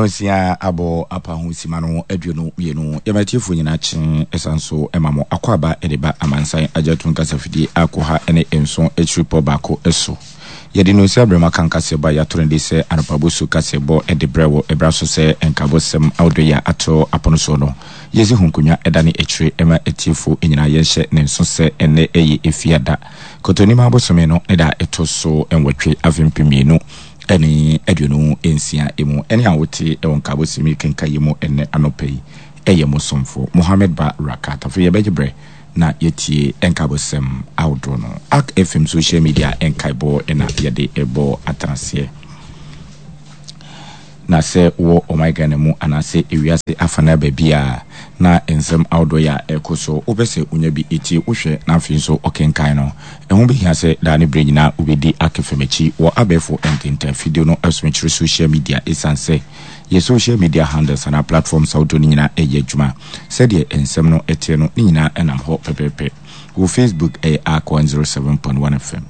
Nonsia abɔ apa ho sima no 22. Yɛma atiefoɔ nyinaa kye ɛsan so ma mo akwaaba de ba amansan agyatum kasafidie a koha ne nson akyiripɔ baako so. Yɛde nonsia berɛ mu aka nkaseɛbɔ a yɛato no de sɛ anɔpa bosu kaseɛbɔ de brɛ wɔ ɛberɛ so sɛ nkabosɛm ahodoɔ yi a ato apono soɔ no yɛsi ho nkonnwa ɛda ne akyire ma atiefoɔ nyinaa yɛnhyɛ ne nso sɛ ɛnnɛ ɛyɛ Efiada Kɔtɔnim abosome no ne da a ɛtɔ so nwɔtwe afe 2026 mu. Ɛne a wote wɔ nkaabɔsɛm yi kenkan yi mu ɛnnɛ anɔpa yi yɛ mo somfo Mohammed Ba Rakat. Afei yɛbɛgye berɛ na yɛatie nkaabɔsɛm ahodoɔ no. Ark FM social media nkaebɔ na yɛde bɔ atenaseɛ. Na sɛ wowɔ ɔman Ghana mu anaasɛ ewiase afanaa baabiara na nsɛm ahodoɔ yi a ɛrekɔ so wopɛ sɛ wonya bi tie, wohwɛ na afei nso wokenkan no, ɛho bɛhia sɛ daa ne berɛ nyinaa wobɛdi Akefem akyi wɔ abɛɛfo ntentan fidie no so mekyerɛ social media ɛsiane sɛ yɛ social media handles anaa platforms ahodoɔ no nyinaa ɛyɛ adwuma sɛdeɛ nsɛm no teɛ no ne nyinaa ɛnam hɔ pɛpɛɛpɛ. Wɔ Facebook ɛyɛ Ark 107.1 FM.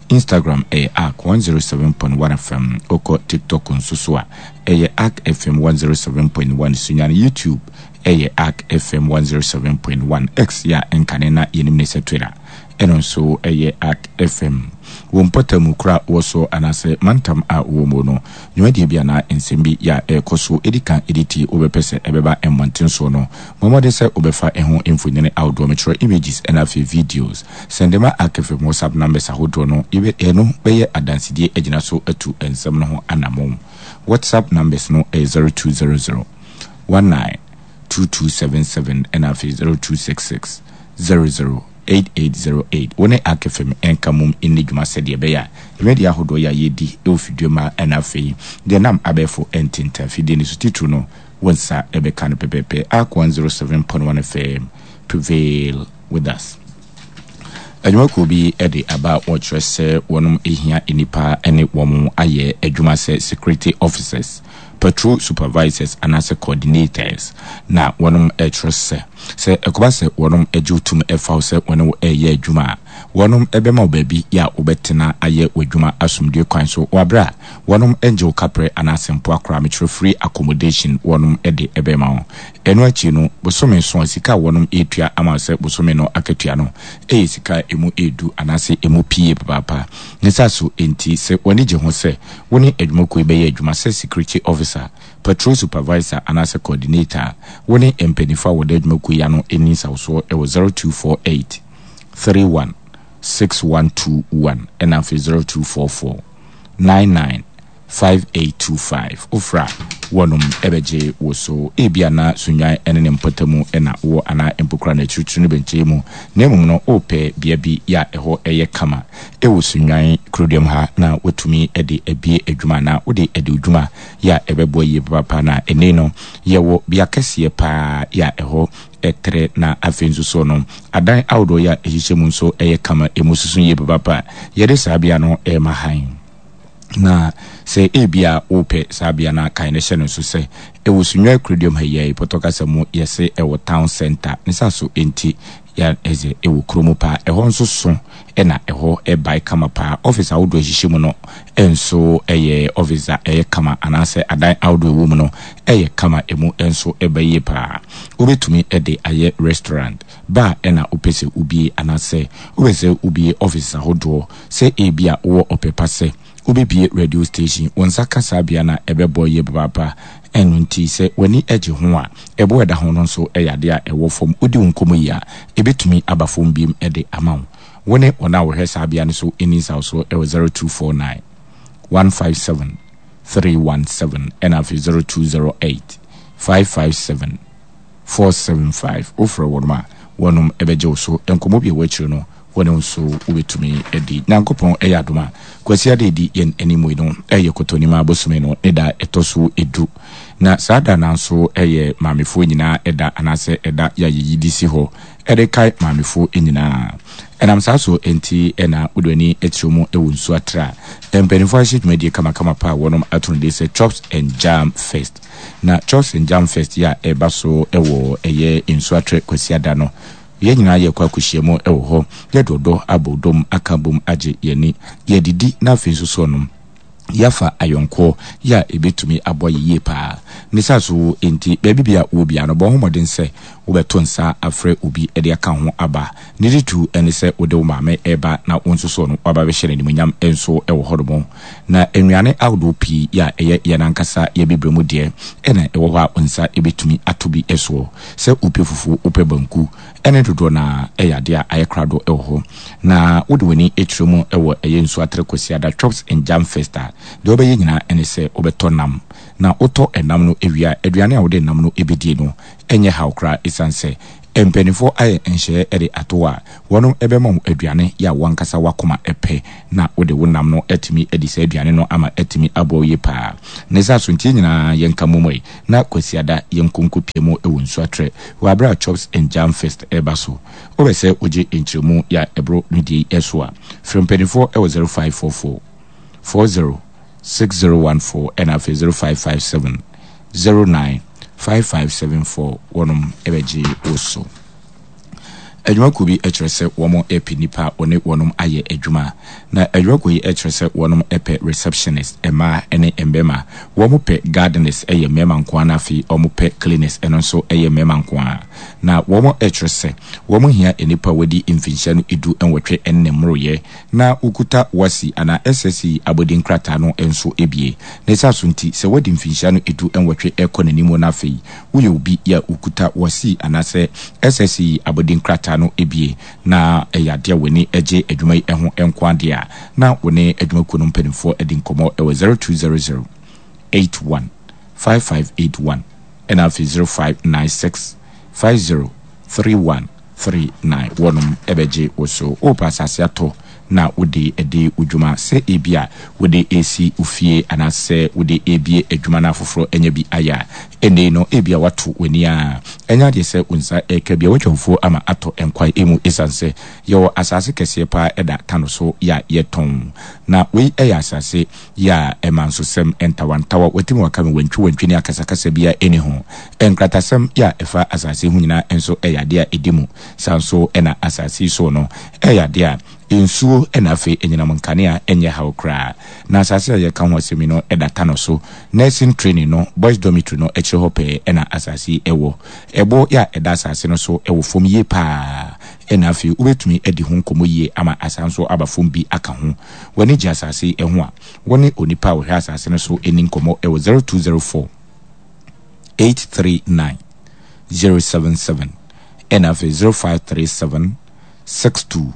Instagram ɛyɛ Ark 107.1 FM, wokɔ TikTok nso so a ɛyɛ Ark FM 107.1, Sunyani YouTube ɛyɛ Ark FM 107.1, X yɛ a ɛnkane na yɛnim ne sɛ Twitter ɛno nso ɛyɛ Ark FM. Wo mpɔtam kuro a wowɔ so anaasɛ mantam a wowɔ mu no, dwumadie bi anaa nsɛm bi yɛ a ɛrekɔ so ɛdi kan ɛdi ti wobɛpɛ sɛ ɛbɛba mmɔnten soɔ no, bɔ mmɔden sɛ wobɛfa ɛho mfonini ahodoɔ, mekyerɛ images ɛna afei videos. Sɛnde ma Akefem WhatsApp numbers ahodoɔ no, yɛbɛ ɛno bɛyɛ adansedie agyina so atu nsɛm no ho anamon. WhatsApp numbers no yɛ 0200 19 2277 ɛna afei 0266 00 8808. Wo ne Akefem nka mmom nni dwuma sɛdeɛ ɛbɛyɛ a dwumadie ahodoɔ yi a yɛredi wɔ fidua mu ha ɛna afei deɛ ɛnam abɛɛfo ntentan fidie no so titiriw no wo nsa bɛka no pɛpɛɛpɛ. Ark 107.1 FM prevail with us. Adwumakuo bi de aba a wɔkyerɛ sɛ wɔnom hia nnipa ne wɔn ayɛ adwuma sɛ security officers, patrol supervisors anaasɛ coordinators. Na wɔnom kyerɛ sɛ, sɛ ɛkɔba sɛ wɔnom gye wo tum fa wo sɛ wɔne wo reyɛ adwuma a, wɔnom bɛma wo baabi a wobɛtena ayɛ w'adwuma asomdwoe kwan so wɔ aberɛ a wɔnom ngye wo kaprɛ anaasɛ mpoa koraa, mekyerɛ free accommodation wɔnom de bɛma wo. Ɛno akyi no, bosome so a sika a wɔnom retua ama wo sɛ bosome no akatua no yɛ sika a ɛmu yɛ du anaasɛ ɛmu pii papaapa. Ne saa so nti, sɛ w'ani gye ho sɛ wo ne adwumakuo yi bɛyɛ adwuma sɛ security officer, patrol supervisor anaasɛ coordinator a, wo ne mpaninfoɔ a wɔda adwumakuo yi ano nni nsawosoɔ wɔ 0248 31 6121 ɛna afei 0244 99 5825 Wofrɛ a, wɔnom bɛgye wo so. Ebia na Sunnwan ne ne mpɔtamu na wowɔ anaa mpo koraa no akyirikyiri no bɛnkyɛe mu, na mmom no worepɛ bea bi yɛ a ɛhɔ yɛ kama wɔ Sunnwan kuroduam ha na woatumi de abue adwuma anaa wode adi wo dwuma yɛ a ɛbɛboa yie papaapa. Na ɛnnɛ no yɛwɔ bea kɛseɛ paa yɛ a ɛhɔ trɛ na afei nso so no adan ahodoɔ yɛ a ɛhyehyɛ mu nso yɛ kama, ɛmu soso yie papaapa. Yɛde saa bea no rema hann. Na sɛ ebia wopɛ saa bea no a, kae na hyɛ no nso sɛ ɛwɔ Sunyani Kuroduam ha yi ara yi, Pɔtɔ kasa mu yɛse ɛwɔ Town Centre. Ne saa so nti ya ɛdze ɛwɔ kuro mu paa. Ɛhɔ nso so na ɛhɔ bae kama paa. Office ahodoɔ a ɛhyehyɛ mu no nso yɛ office a ɛyɛ kama anaasɛ adan ahodoɔ a ɛwɔ mu no yɛ kama, ɛmu nso ba yie paa. Wobɛtumi de ayɛ restaurant, bar na wopɛ sɛ wobie anaasɛ wopɛ sɛ wobie offices ahodoɔ. Sɛ ebia wowɔ ɔpɛ pa sɛ wobɛbue radio station, wo nsa ka saa bea no a, ɛbɛboa yie papaapa. Ɛno nti, sɛ w'ani gye ho a, ɛboɔ a ɛda ho no nso yɛ adeɛ a ɛwɔ fam. Wodi wo nkɔmmɔ yie a, ɛbɛtumi aba fam bio de ama wo. Wo ne wɔn a wɔhwɛ saa bea no so nni nsawosoɔ wɔ 0249 157 317 ɛna afei 0208 557 475. Wofrɛ wɔn a, wɔnom bɛgye wo so. Nkɔmmɔ bi a ɛwɔ akyire no, Wo ne nso wobɛtumi adi. Nyankopɔn yɛ adom a, Kwasiada a ɛdi yɛn anim yi no yɛ Kɔtɔnimaa bosome no ne da a ɛtɔ so du. Na saa da no ara nso yɛ maamefoɔ nyinaa da anaasɛ ɛda yɛ a yɛyi de si hɔ de kae maamefoɔ nyinaa. Ɛnam saa so nti na wode w'ani kyerɛ mu wɔ nsuo atra a mpanimfoɔ ahyehyɛ dwumadie kamakama pa a wɔnom ato no din sɛ Chops and Jam Fest. Na Chops and Jam Fest yi a ɛreba so wɔ ɛyɛ Nsuatrɛ Kwasiada no, Yɛn nyinaa yɛkɔ akɔhyia mu wɔ hɔ, yɛde ɔdɔ abɔ dɔm aka abom agye yɛn ani, yɛadidi na afei nso so no, Yɛafa ayɔnkoɔ yɛ a ɛbɛtumi aboa yɛ yie paa. Ne saa so nti, baabi biara wowɔ biara no, bɔ wo ho mmɔden sɛ wobɛto nsa afrɛ obi de aka wo ho aba. Ne titiriw ne sɛ wode wo maame reba na wo nso so no woaba abɛhyɛ no animuonyam nso wɔ hɔnom. Na nnuane ahodoɔ pii yɛ a ɛyɛ yɛn ankasa yɛn abibire mu deɛ na ɛwɔ hɔ a wo nsa bɛtumi ato bi soɔ. Sɛ wopɛ fufuo, wopɛ banku ne dodoɔ no ara yɛ adeɛ a ayɛ krado wɔ hɔ. Na wode w'ani kyerɛ mu wɔ ɛyɛ Nsuatere Kwasiada Chops and Jam Fest a, deɛ wobɛyɛ nyinaa ne sɛ wobɛtɔ nam. Na wotɔ nam no wie a, aduane a wode nam no bɛdie no nyɛ haw koraa ɛsiane sɛ mpanimfoɔ ayɛ nhyehyɛeɛ de ato hɔ a, wɔnom bɛma wo aduane yɛ a wo ankasa w'akoma pɛ na wode wo nam no atumi adi saa aduane no ama atumi aboa wo yie paa. Ne saa so nti yɛn nyinaa yɛnka mmom ɛ na Kwasiada yɛnkɔ nkɔpie mu wɔ Nsuatrɛ wɔ aberɛ a Chops and Jam Fest reba so. Wopɛ sɛ wogye nkyerɛmu yɛ a ɛboro ne deɛ yi so a, frɛ mpanimfoɔ wɔ 0544 40 6014 ɛna afei 0557 09 5574 wɔnom bɛgye wo so. Adwumakuo bi kyerɛ sɛ wɔn pɛ nnipa a wɔne wɔnom ayɛ adwuma. Na adwumakuo yi kyerɛ sɛ wɔnom pɛ receptionist, mmaa ne mmarima. Wɔn pɛ gardeners ɛyɛ mmarima nko ara na afei wɔn pɛ cleaners ɛno nso ɛyɛ mmarima nko ara. Na wɔn kyerɛ sɛ wɔn hia nnipa a wɔadi mfinhyia no 18 ne mmoroyɛ na wokuta WASSCE anaa SSCE abɔdin krataa no nso bie. Ne saa so nti, sɛ woadi mfinhyia no 18 rekɔ n'anim na afei woyɛ obi a wokuta WASSCE anaasɛ SSCE abɔdin krataa no bie na ɛyɛ adeɛ a w'ani gye adwuma yi ho nko ara deɛ a, na wo ne adwumakuo no mpanimfoɔ adi nkɔmmɔ wɔ 0200 81 5581 ɛna afei 0596 50 31 39 wɔnom bɛgye wo so. Worepɛ asase atɔ na wode adi wo dwuma, sɛ ebia wode resi wo fie anaasɛ wode rebue adwuma na afoforɔ anya bi ayɛ a, ɛnnɛ yi no ebia woato w'ani ara. Ɛnyɛ adeɛ sɛ wo nsa reka bi a woatwa fufuo ama atɔ nkwan mu esiane sɛ yɛwɔ asase kɛseɛ paa da Tano so yɛ a yɛtɔn. Na wei yɛ asase yɛ a ɛma nsosɛm, ntawantawa, watimi waka me wantwi wantwi ne akasakasa biara nni ho. Nkratasɛm yɛ a ɛfa asase ho nyinaa nso yɛ adeɛ a ɛdi mu. Saa nso na asase yi so no yɛ adeɛ a nsuo na afei anyinam nkanea nyɛ haw koraa. Na asase a yɛreka ho asɛm yi no da Tano so, Nursing Training no Boys Dormitory no akyire hɔ pɛɛ na asase yi wɔ. Ɛboɔ yɛ a ɛda asase no so wɔ fam yie pa ara na afei wobɛtumi adi ho nkɔmmɔ yie ama asan nso aba fam bi aka ho. W'ani gye asase yi ho a, wo ne onipa a ɔhwɛ asase no so nni nkɔmmɔ wɔ 0204 839 077 ɛna afei 0537 62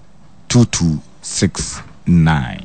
2269.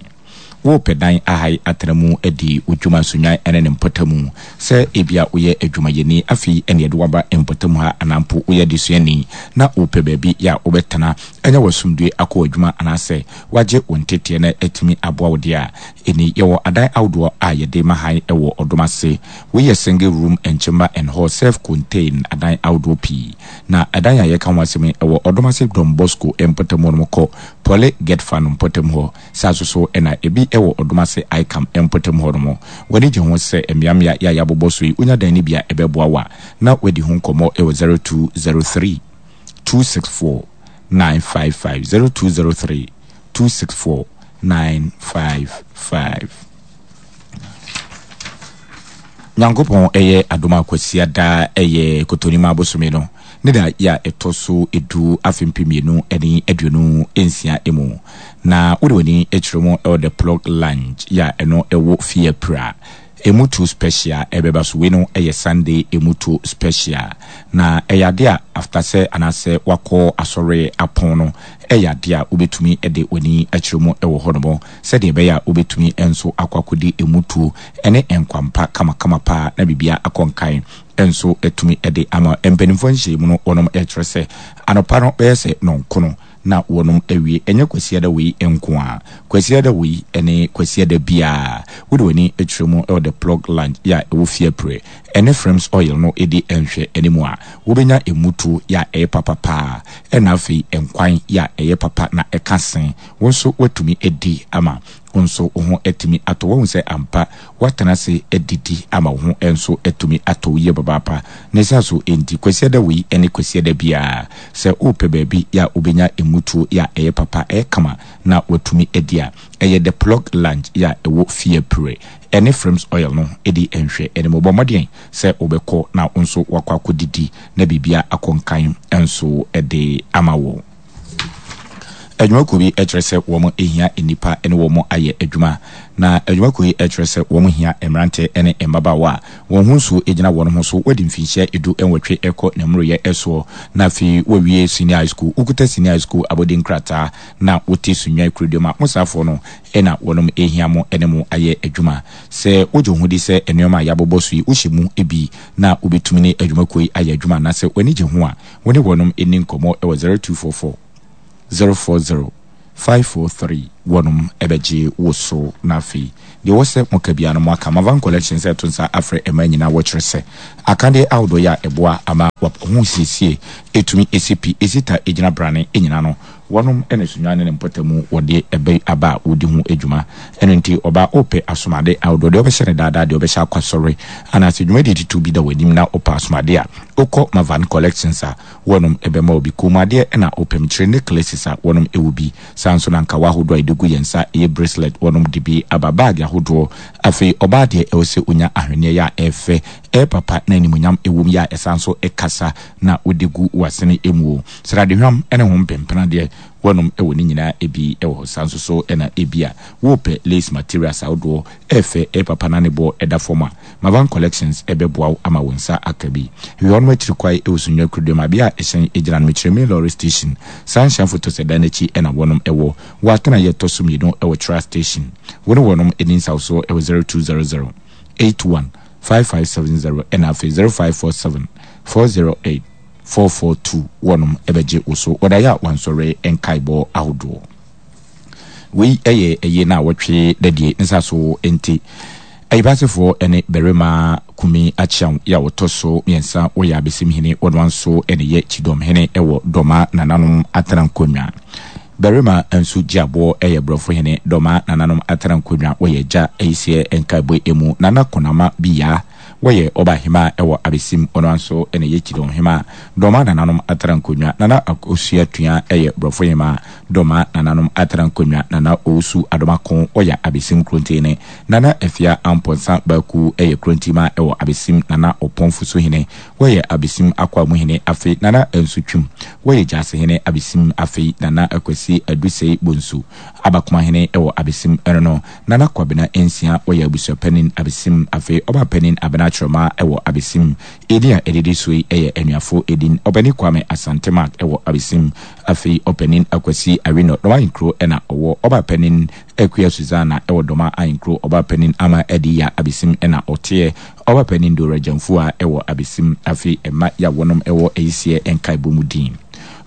Worepɛ dan ahae atena mu adi wo dwuma Sunnwan ne ne mpɔtamu? Sɛ ebia woyɛ adwumayɛni afei na yɛde wo aba mpɔtam ha anaa mpo woyɛ adesuani na worepɛ baabi a wobɛtena anya w'asomdwoe akɔ w'adwuma anaasɛ woagye wo nteteɛ na atumi aboa wo deɛ a, ɛnni. Yɛwɔ adan ahodoɔ a yɛde ma hann wɔ ɔdom ase. Wei yɛ single room and chamber and hall self contain adan ahodoɔ pii. Na ɛdan a yɛreka ho asɛm yi, ɛwɔ ɔdom ase Don Bosco mpɔtam hɔ nom kɔ Poly Getfa no mpɔtam hɔ. Saa nso so na ebi wɔ ɔdom ase ICAM mpɔtam hɔ nom. W'ani gye ho sɛ mmeammea yi a yɛabobɔ so yi wonya dan no bi a ɛbɛboa wo a, na woadi ho nkɔmmɔ wɔ 0203 264 955, 0203 264 955. Nyankopɔn yɛ adom a Kwasiada yɛ Kotonimaa bosome no ne da yɛ a ɛtɔ so edu afe 2026 mu. Na wode w'ani kyerɛ mu wɔ The Plug Lounge yɛ a ɛno ɛwɔ Fiapira. Emu tuo special ɛbɛba so. Wei no yɛ Sunday emu tuo special. Na ɛyɛ adeɛ a after sɛ anaasɛ wakɔ asɔre apɔn no ɛyɛ adeɛ a wobɛtumi de w'ani akyerɛ mu wɔ hɔ nom sɛdeɛ ɛbɛyɛ a wobɛtumi nso akɔ akɔdi emu tuo ne nkwampa kamakama paa na biribiara akɔ nkan nso atumi de ama. Mpanimfoɔ nhyiamu no wɔnom kyerɛ sɛ anɔpa no bɛyɛ sɛ nɔnkono na wɔnom awie. Ɛnyɛ Kwasiada wei nko ara. Kwasiada wei ne Kwasiada biara. Wode w'ani kyerɛ mu wɔ The Plug Lounge yɛ a ɛwɔ Fiapre ɛne Frames Oil no di nhwɛ anim a, wobɛnya mmutuo yɛ a ɛyɛ papa paa ɛna afei nkwan yɛ a ɛyɛ papa na ɛka se wo nso woatumi adi ama. Wo nso wo ho atumi atɔ wo. Woahu sɛ ampa woatena ase adidi ama wo ho nso atumi atɔ wo yie papaapa. Ne saa so nti, Kwasiada wei ne Kwasiada biara, sɛ worepɛ baabi a wobɛnya mmutuo a ɛyɛ papa, ɛyɛ kama na woatumi adi a, ɛyɛ The Plug Lounge a ɛwɔ Fiapre. Ɛne Frames Oil no di nhwɛanimu. Bɔ mmɔden sɛ wobɛkɔ na wo nso woakɔ akɔdidi na biribiara akɔ nkan nso de ama wo. Adwumakuo bi kyerɛ sɛ wɔn hia nnipa ne wɔn ayɛ adwuma. Na adwumakuo yi kyerɛ sɛ wɔn hia mmeranteɛ ne mmabaawa a wɔn ho nsuo gyina wɔn ho so, wɔadi mfinhyia 18 rekɔ ne mmoroyɛ soɔ, na afei wɔawie senior high school, wokuta senior high school abɔdin krataa na wote Sunyani kuroduam a, mo saafoɔ no na wɔnom hia mo ne mo ayɛ adwuma. Sɛ wogye wo ho di sɛ nnoɔma a yɛabobɔ so yi wohyɛ mu bi na wobɛtumi ne adwumakuo yi ayɛ adwuma anaasɛ w'ani gye ho a, Wo ne wɔnom nni nkɔmmɔ wɔ 0244 040 543 wɔnom bɛgye wo so na afei deɛ ɛwɔ sɛ moka biara no moaka. Mavan Collection sɛ ɛto nsa afrɛ mmaa nyinaa wɔkyerɛ sɛ akadeɛ ahodoɔ yi a ɛboa ama ho siesie ɛtumi ɛsi pi ɛsi ta ɛgyina brane nyinaa no wɔnom na Sunyani ne ne mpɔtamu wɔde ɛbɛ aba a wɔdi ho dwuma. Ɛno nti ɔbaa ɔpɛ asomade ahodoɔ deɛ ɔbɛhyɛ no daadaa deɛ ɔbɛhyɛ akɔ asɔre anaasɛ dwumadie titiriw bi da w'anim na wopɛ asomade a Wokɔ Mavan Collections a, wɔnom bɛma wo bi. Kɔnmuadeɛ na wopɛ, mekyerɛ necklaces a, wɔnom wɔ bi. Saa nso na nkawa ahodoɔ a yɛde gu yɛn nsa, ɛyɛ bracelet, wɔnom de bi aba. Bag ahodoɔ. Afei ɔbaa deɛ ɛwɔ sɛ ɔnya ahweneɛ yɛ a ɛyɛ fɛ, ɛyɛ papa na animuonyam wɔ mu yɛ a ɛsan nso kasa na wode gu w'asene mu o. Sradehwam ne ho mpempena deɛ, wɔnom wɔ ne nyinaa bi wɔ hɔ. Saa nso so na ebia wopɛ lace materials ahodoɔ, ɛyɛ fɛ, ɛyɛ papa na ne boɔ da fam a, Mavan Collections bɛboa wo ama wo nsa aka bi. Hwehwɛ wɔn akyiri kwae wɔ Sunyani Kuroduam a bea a ɛhyɛn gyina no, mekyerɛ Main Lorry Station. Saa nhyɛn fotosɛ dan no akyi na wɔnom wɔ. Wɔ atenaeɛ ɛtɔ so mmienu wɔ Tra Station. Wo ne wɔnom nni nsawsoɔ wɔ 0200 81 5570 ɛna afei 0547 408 442 wɔnom bɛgye wo so wɔ daeɛ a wansɔre nkaebɔ ahodoɔ. Wei yɛ ɛyie no a wɔtwe dadie nsa so nti. Ayibasefoɔ ne barima Kumi Akyeaw yi a ɔtɔ so miɛnsa wɔyɛ Abesimhene wɔnoa nso ne yɛ Kyidɔmhene wɔ Dɔma nananom atena nkonnwa. Barima nso Gyeaboɔ yɛ Borɔfohene Dɔma nananom atena nkonnwa wɔyɛ Agya Ayiseɛ Nkaebɔ emu Nana Konama Biyaa Wɔyɛ Ɔbaahemaa wɔ Abesim, ɔno ara nso na ɛyɛ Kyidɔnhemaa. Dɔma nananom atra nkonnwa, Nana Akosua Tua yɛ Borɔfohemaa. Dɔma nananom atra nkonnwa, Nana Owusu Adomako ɔyɛ Abesim Kurontini. Nana Afia Amponsah Baku yɛ Kurontimaa wɔ Abesim, Nana Ɔpɔn Fusuhene wɔyɛ Abesim Akwaamuhene afei Nana Ansu Twum wɔyɛ Gyasehene Abesim afei Nana Akwasi Adusei Bonsu Abakomahene wɔ Abesim ɛno no Nana Kwabena Nsia wɔyɛ abusuapanin Abesim afei Ɔbaapanin Abena Kyerɛmaa wɔ Abesim. Edin a ɛdidi so yi yɛ anuafo edin, Ɔpanin Kwame Asante Mark wɔ Abesim afei Ɔpanin Akwasi Awino Dɔm Ahenkuro na ɔwɔ, Ɔbaapanin Akua Susanna wɔ Dɔma Ahenkuro, Ɔbaapanin Ama Adiya Abesim na ɔteɛ, Ɔbaapanin Dora Gyamfua wɔ Abesim afei mma yi a wɔnom wɔ Ayisiɛ nkaebɔ mu din.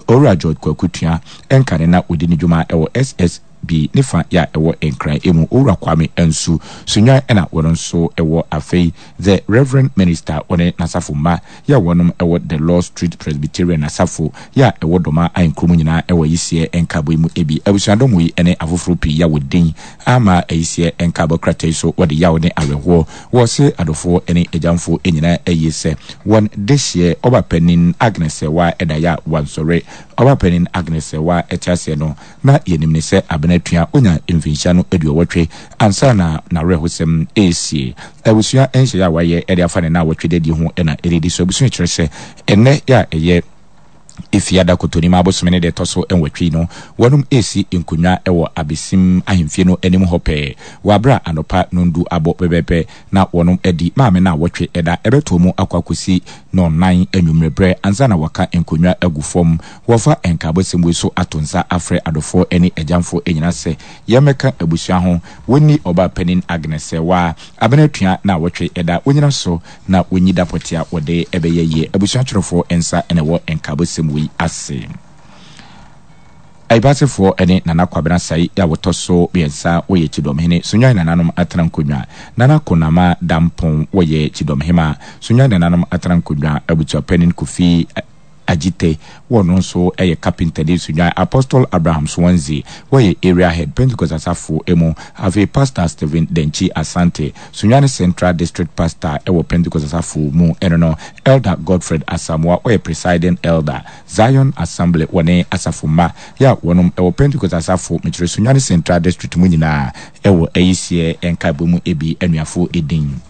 Owura George Kwaku Tua nkane na ɔdi ne dwuma wɔ SS. Bi ne fa yɛ a ɛwɔ Nkran emu Owura Kwame Ansu Sunyani ɛna wɔn nso wɔ afei The Reverend Minister wɔne n'asafo mma yɛ a wɔnom wɔ The Lord Street Presbyterian Asafo yɛ a ɛwɔ Dɔma Ahenkuro mu nyinaa wɔ Ayiseɛ nkaabɔ yi mu ebi Abusuadɔm yi ne afoforo pii yɛ a wɔdin ama Ayiseɛ nkaabɔ krataa yi so wɔde yaw ne awerɛhoɔ wɔ se adɔfoɔ ne agyamfoɔ nyinaa ayie sɛ wɔn dehyeɛ Ɔbapanin Agnes Sɛwaa ɛda yɛ a wansɔre Ɔbapanin Agnes Sɛwaa ɛte aseɛ no Na yɛnim no sɛ Abena Tua ɔnyaa mfinhyia no aduɔwɔtwe ansa na n'awerɛhosɛm resie. Abusua nhyehyɛe a wɔayɛ de afa ne nnawɔtwe dadi ho na ɛredi so. Abusua kyerɛ sɛ ɛnnɛ yɛ a ɛyɛ Efiada Kotonima abosome ne deɛ ɛtɔ so nwɔtwe yi no, wɔnom resi nkonnwa wɔ Abesim ahemfie no anim hɔ pɛɛ wɔ aberɛ a anɔpa nondu abɔ pɛpɛɛpɛ na wɔnom adi maame nnawɔtwe ɛda ɛbɛtoɔ mu akɔ akɔsi nɔnnan anwummerɛ berɛ ansa na wɔaka nkonnwa agu fam. Wɔfa nkaabɔsɛm wei so ato nsa afrɛ adɔfoɔ ne agyamfoɔ nyinaa sɛ yɛmmɛka abusua ho, wɔnni ɔbaa panin Agnes Sɛwaa abena atua naawɔtwe da, wɔnyina so na wɔnyi da pɔtee a wɔde bɛyɛ yie. Abusua twerɛfoɔ nsa na ɛwɔ nkaabɔsɛm wei ase. Ayibasefoɔ ne Nana Kwabena Asai a wɔtɔ so miɛnsa wɔyɛ Kyidɔmhene, Sunyani nananom atena nkonnwa, Nana Konama Dampong wɔyɛ Kyidɔmhema, Sunyani nananom atena nkonnwa, Abusuapanin Kofi. Agyite, wɔ no nso yɛ carpenter ne Sunyani Apostle Abraham Swansea, wɔyɛ Area Head, Pentecost Asafo mu. Afei Pastor Stephen Dankyi Asante, Sunyani Central District Pastor wɔ Pentecost Asafo mu ɛno no, Elder Godfred Asamoah, ɔyɛ Presiding Elder, Zion Assembly wɔ ne asafo mma yɛ a wɔnom wɔ Pentecost Asafo mekyerɛ Sunyani Central District mu nyinaa wɔ ayisiɛ nkaebɔ mu ebi anuafo edin.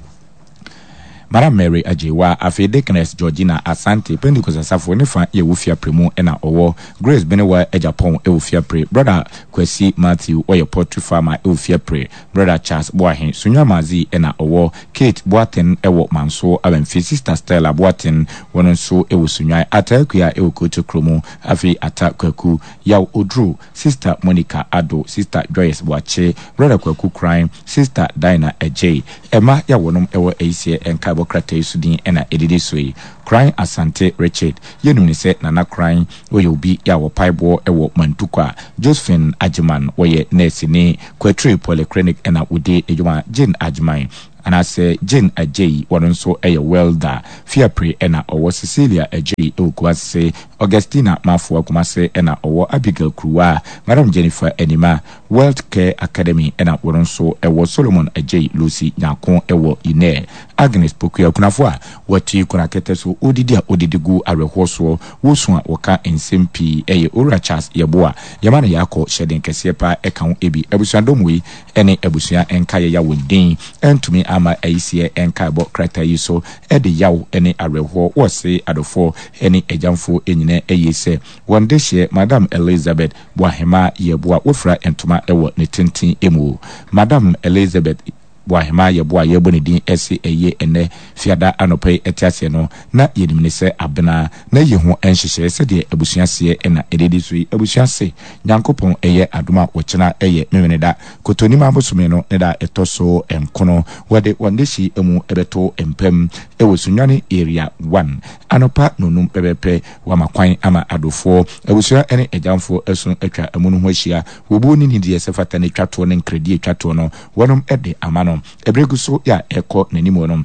Madam Mary Agyeiwaa, afei Deaconess Georgina Asante, Pentecost Asafo ne fa yɛ wɔ Fiapre mu na ɔwɔ, Grace Benewa Agyapong wɔ Fiapre, Brɔda Kwasi Matthew ɔyɛ poultry farmer wɔ Fiapre, Brɔda Charles Boahe, Sunyani Madzi na ɔwɔ, Kate Boateng wɔ Manso Abamfi, Sister Stella Boateng wɔn nso wɔ Sunyani, Ataa Akua wɔ Kotokro mu, afei Atta Kwaku, Yaw Oduro, Sister Monica Addo, Sister Joyce Boakye, Brɔda Kwaku Koran, Sister Dinah Adjei. Ɛma yɛ a wɔnom wɔ ayisiɛ nkaebɔ krataa yi so din na ɛdidi so yi, Koran Asante Richard, yɛnim no sɛ Nana Koran, ɔyɛ obi yɛ a wɔpae boɔ wɔ Mantukwa, Josephine Agyeman, wɔyɛ nɛɛseni, Kwatire Polyclinic na ɔdi ne dwuma, Jane Agyeman, anaasɛ Jane Adjei, ɔno nso yɛ welder, Fiapre na ɔwɔ, Cecilia Adjei wɔ Kumase, Augustina Mafoa Kumase na ɔwɔ, Abigail Kuruwa, Madam Jennifer Anima, Wealth Care Academy na wɔn nso wɔ, Solomon Adjei Lucy Nyarko wɔ Inɛ, Agnes Pokuya Kunafo a wɔte kuna kɛtɛ so, wɔdidi a wɔdidi gu awerɛhoɔ soɔ, wɔsu a wɔka nsɛm pii yɛ Owura Charles Yeboah, Yɛma no Yaakɔ hyɛden kɛseɛ paa ɛka ho bi. Abusuadɔm wei ne abusua nkaeɛ ya wɔn din antumi amma ayisiɛ nkaebɔ krataa yi so de yaw ne awerɛhoɔ wɔse adɔfoɔ ne agyamfoɔ nyinaa ayie sɛ wɔn dehyeɛ Madam Elizabeth Boahemaa Yeboah wafira ntoma wɔ ne tenten mu. Madam Elizabeth Boahemaa Yeboah a yɛrebɔ ne din se ayie ɛnnɛ Fiada anɔpa yi te aseɛ no, na yɛnim no sɛ Abena. Na yie ho nhyehyɛeɛ sɛdeɛ abusua seɛ na ɛdidi so yi, Abusua se, Nyankopɔn yɛ adom a wɔkyena yɛ Memeneda, Kotonima bosome no ne da a ɛtɔ so nkono, wɔde wɔn dehye mu bɛto mpam wɔ Sunyani Area One, anɔpa nnɔnnum pɛpɛpɛ. Wɔama kwan ama adofoɔ, abusua ne agyamfoɔ asu atwa amu no ho ahyia. Wɔbuo ne nidie sɛ fata ne twa toɔ ne nkradie twa toɔ no, wɔnom de ama no. Ɛberɛ gu so yɛ a ɛrekɔ n'anim no,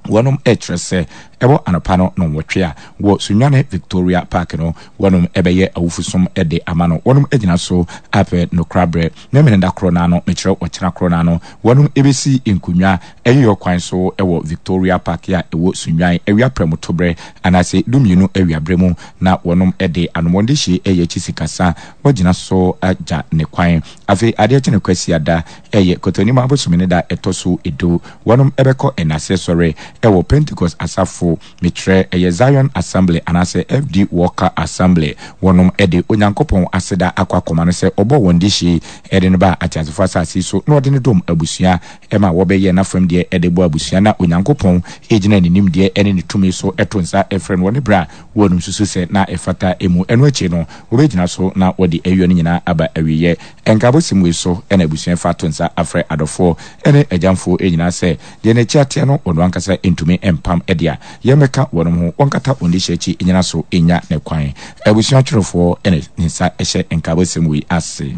wɔnom rekyerɛ sɛ ɛwɔ anɔpa no nnɔnwɔtwe a, wɔ Sunyani Victoria Park no, wɔnom bɛyɛ awufosom de ama no. Wɔnom agyina so apɛ nokoraberɛ. Memeneda korɔ no ara no, mekyerɛ ɔkyena korɔ no ara no, wɔnom bɛsi nkonnwa Ayiyɔ kwan so wɔ Victoria Park a ɛwɔ Sunyani awia prɛmotoberɛ anaasɛ dumienu awiaberɛ mu na wɔnom de anomɔndehye ɛyɛ akyi sikasa wɔgyina so agya ne kwan. Afei adeɛ kye no Kwasiada ɛyɛ Kɔtɔnim abosome ne da ɛtɔ so du wɔnom bɛkɔ nnaseɛ sɔre wɔ Pentecost asafo Mekyerɛ, ɛyɛ Zion Assembly anaasɛ FD Walker Assembly. Wɔnom de Onyankopɔn aseda akɔ akɔma no sɛ ɔbɔɔ wɔn dehye de no baa ateasefo asase yi so na ɔde no dom abusua ma wɔbɛyɛɛ n'afam deɛ de bɔɔ abusua na Onyankopɔn gyina ne nimdeɛ ne ne tumi so to nsa frɛ no wɔ ne berɛ a wɔnom susu sɛ na ɛfata mu. Ɛno akyi no wɔbɛgyina so na wɔde ayuo no nyinaa aba awieɛ. Nkaabɔsɛm wei so na abusua fa to nsa afrɛ adɔfoɔ ne agyamfoɔ nyinaa sɛ Deɛ n'akyi ateɛ no, ɔno ankasa ntumi mpam de a, yɛmmɛka wɔnom ho, wɔnkata wɔn dehye akyi nnyina so nnya ne kwan. Abusua twerɛfoɔ na ne nsa hyɛ nkaabɔsɛm wei ase.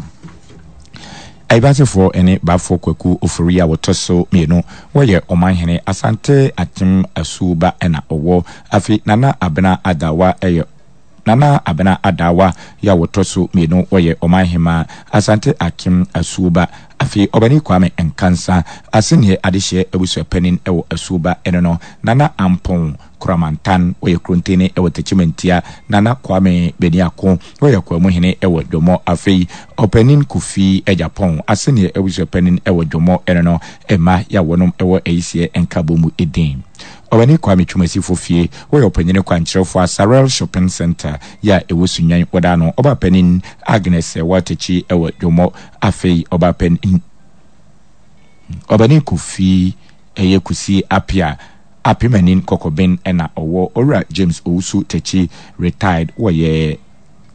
Ayibasefoɔ ne Bafo Kwaku Ofori a wɔtɔ so mmienu, wɔyɛ Ɔmanhene, Asante Akyem Asuo ba na ɔwɔ. Afei Nana Abena Adawa yɛ Nana Abena Adaawa yi a wɔtɔ so mmienu wɔyɛ Ɔmanhemaa, Asante Akim Asuoba, afei Ɔbani Kwame Nkansa, Asenneɛ Adehyeɛ Abusuapanin wɔ Asuoba ɛno no, Nana Ampong Koramantan wɔyɛ Krontene wɔ Techimantia, Nana Kwame Beniako wɔyɛ Kwamuhene wɔ Dwomɔ, afei Ɔpanin Kofi Agyapong, Asenneɛ Abusuapanin wɔ Dwomɔ ɛno no, mma yi a wɔnom wɔ Ayisiɛ Nkabom din. Ɔwɛne Kwame Twumasifo fie, wɔyɛ ɔpanyin kwankyerɛfo a Sarel Shopping Centre yi a ɛwɔ Sunyani wɔda ano. Ɔbaapanin Agnes Watakyi wɔ Dwommɔ. Afei ɔbaapanin Ɔbɛne Kofi ɛyɛ Kusi Apia Apemanin Kɔkɔben na ɔwɔ Owura James Owusu Takyi retired wɔyɛ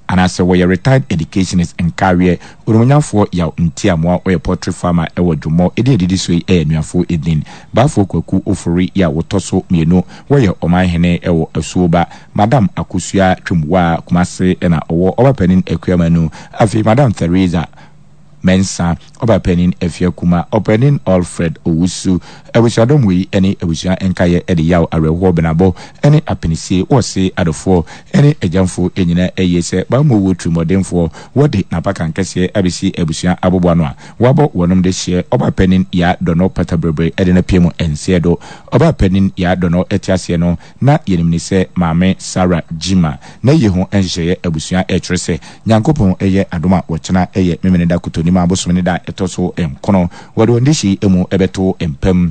anaasɛ wɔyɛ retired educationist Nkaweɛ Onimonyamfoɔ Yaw Ntiamoa ɔyɛ poultry farmer wɔ Dwommɔ Edin a ɛdidi so yi yɛ anuafoɔ edin Baafoɔ Kwaku Ofori yi a wɔtɔ so mmienu wɔyɛ Ɔmanhene wɔ Asuoba Madam Akosua Twumwaa Kumase na ɔwɔ Ɔbapanin Akua Manu Afei Madam Theresa. Mensah, Ɔbaapanin Afia Kuma, Ɔpanin Alfred Owusu. Abusuadɔm wei ne abusua nkaeɛ de yaw, awerɛhoɔ, benabɔ ne apinisie wɔ se adɔfoɔ ne agyamfoɔ nyinaa ayie sɛ bammɔ wuo tirimɔdenfoɔ wɔde n'apakan kɛseɛ abɛsi abusua aboboano a wɔabɔ wɔnom de hyeɛ Ɔbaapanin Yaa Dɔnɔ Patabrɛbrɛ de no apue mu nseɛ do. Ɔbaapanin Yaa Dɔnɔ te aseɛ no na yɛnim no sɛ Maame Sarah Gyimah. N'ayie ho nhyehyɛeɛ abusua ɛrekyerɛ sɛ Nyankopɔn yɛ adom a wɔkyena yɛ Memeneda Kotonimaa bosome ne da a ɛtɔ so nkono. Wɔde wɔn dehye yi mu bɛto mpa mu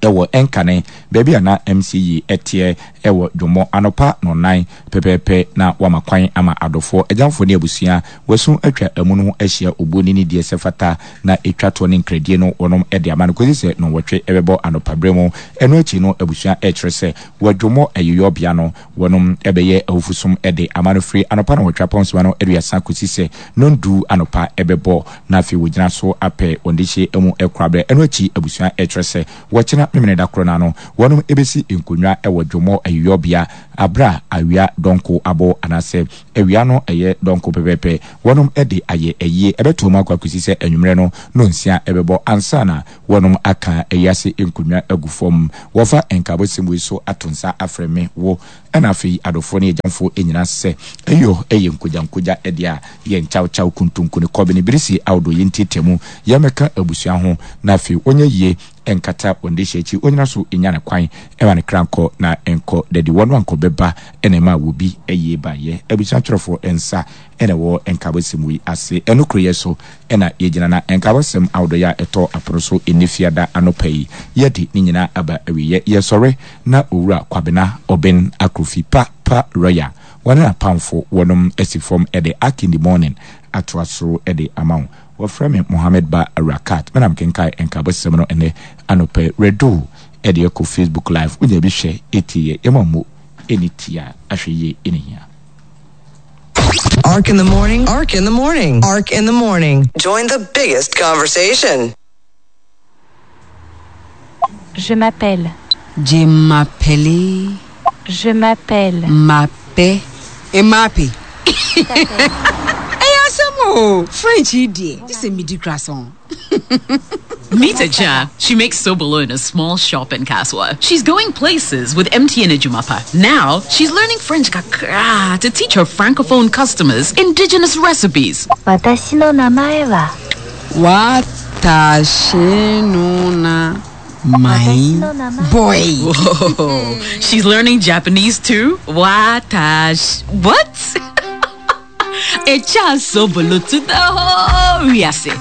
wɔ Nkane, baabi a na MC yi teɛ wɔ Dwommɔ anɔpa nnɔnnan pɛpɛɛpɛ na wɔama kwan ama adɔfoɔ, agyamfoɔ ne abusua wɔasu atwa amu no ho ahyia obuo ne nidie sɛ fata na ɛtwa toɔ ne nkradie no wɔnom de ama no kɔsi sɛ nnɔnwɔtwe bɛbɔ anɔpa berɛ mu. Ɛno akyi no abusua rekyerɛ sɛ wɔ Dwommɔ ayeyɔbea no Wɔnom bɛyɛ awufosom de ama no firi anɔpa nnɔnwɔtwe apɔnsoma no aduasa kɔsi sɛ nnɔndu anɔpa bɛbɔ, na afei wɔgyina so apɛ wɔn dehyeɛ mu koraberɛ. Ɛno akyi abusua kyerɛ sɛ wɔkyena Memeneda korɔ no ano, wɔnom bɛsi nkonnwa wɔ dwommɔ ayeyɔbea berɛ a awia dɔnko abɔ anaasɛ awia no yɛ dɔnko pɛpɛɛpɛ. Wɔnom de ayɛ ayie ɛbɛtoa mu akɔ akɔsi sɛ anwummerɛ no nnɔnsia bɛbɔ ansa na Wɔnom aka ayiase nkonnwa agu fam. Wɔfa nkaabɔsɛm wei so ato nsa afrɛ me, wo, ɛna afei adɔfoɔ ne agyamfoɔ nyinaa sɛ, Ɛyɔ yɛ nkogyankogya deɛ a, yɛ nkyawkyaw, kuntunku ne kɔbene birisi ahodoɔ, yɛntiatia mu, yɛmmɛka abusua ho, na afei wɔnyɛ yie nkata wɔn dehyeɛ akyi, ɔnyina so nya ne kwan ma ne kra nkɔ na nkɔ dadi, wɔn ankɔ bɛba na ɛma wɔbi ayie baeɛ. Abusua twerɛfoɔ nsa na ɛwɔ nkaabɔsɛm wei ase. Ɛno koroyɛ so na yɛgyina na nkaabɔsɛm ahodoɔ a ɛtɔ apono so ɛnnɛ Fiada anɔpa yi, yɛde ne nyinaa aba awieɛ. Yɛsɔre na Owura Kwabena Oben Akrofi Pa Pa Royal, wɔne n'apamfo wɔnom asi fam de Ark in the Morning atoa so de ama wo. Wɔfrɛ me Mohammed Ba Rakat, me na mekenkae nkaabɔsɛm no ɛnnɛ anɔpa yi. Redo de ɛkɔ Facebook Live, wonya bi hwɛ, ɛtie yɛ, yɛma mmo ɛni tia, ahwɛ yie ɛne hia. Ark in the morning. Ark in the morning. Ark in the morning. Join the biggest conversation. Je m'appelle. Je m'appelle. Je m'appelle. M'appelle. Mmape. Ɛyɛ asɛm o. French yi deɛ, gye sɛ medi croissant. Meet Aja. She makes sobolo in a small shop in Kaswa. She's going places with MTN Ejumapa. Now, she's learning French kakra to teach her francophone customers indigenous recipes. 私の名前は 私の名前 boy. Whoa. She's learning Japanese too? Watash. What?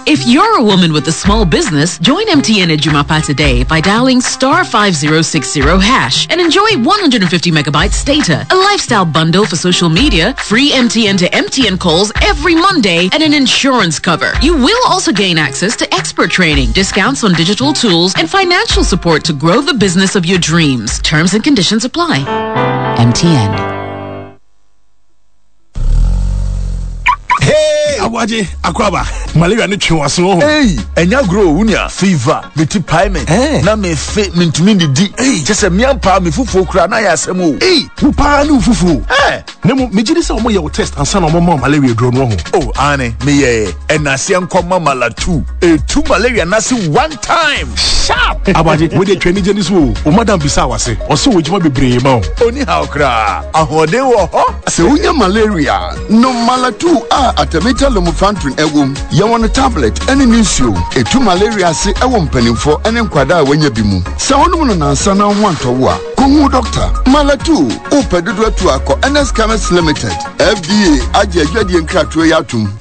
If you're a woman with a small business, join MTN Ejumapa today by dialing star 5060 hash and enjoy 150 megabytes data, a lifestyle bundle for social media, free MTN to MTN calls every Monday, and an insurance cover. You will also gain access to expert training, discounts on digital tools, and financial support to grow the business of your dreams. Terms and conditions apply. MTN. Hey! Aboagye, akwaba, malaria ne twe w'aso ho. Hey, ɛnya agorɔ o, wunia. Fever, me ti pae me. Eh. Na me fe, me ntumi ndidi. Hey. Kyɛ sɛ mmea paa me fufuo kura na ayɛ asɛm o. Hey, wo paa ne wo fufuo. Eh. Na mmom, megye di sɛ wɔyɛ wo test ansa na wɔma wo malaria aduro no ho. Oh, aane, meyɛɛ. Ɛnaseɛ nkɔma malatu. Etu malaria n'ase one time. Sharp! Aboagye, wo deɛ twa anigye ne so o. Wo madam bisaa w'ase. Ɔse wɔ adwuma bebree ma wo. Onni haw koraa. Ahoɔden wɔ hɔ. Sɛ wonya malaria a, nom Malatu a artemether lumefantrine wom. Yɛwɔ no tablet ne ne nsuo. Ɛtu malaria ase wɔ mpanimfoɔ ne nkwadaa a wɔanya bi mu. Sɛ wonom no nnansa na wo ho antɔ wo a, kɔhu wo dɔkta. Malatu, wopɛ dodoɔ atu a, kɔ Ernest Chemist Limited. FDA agye adwadie nkratoɔ yi atom.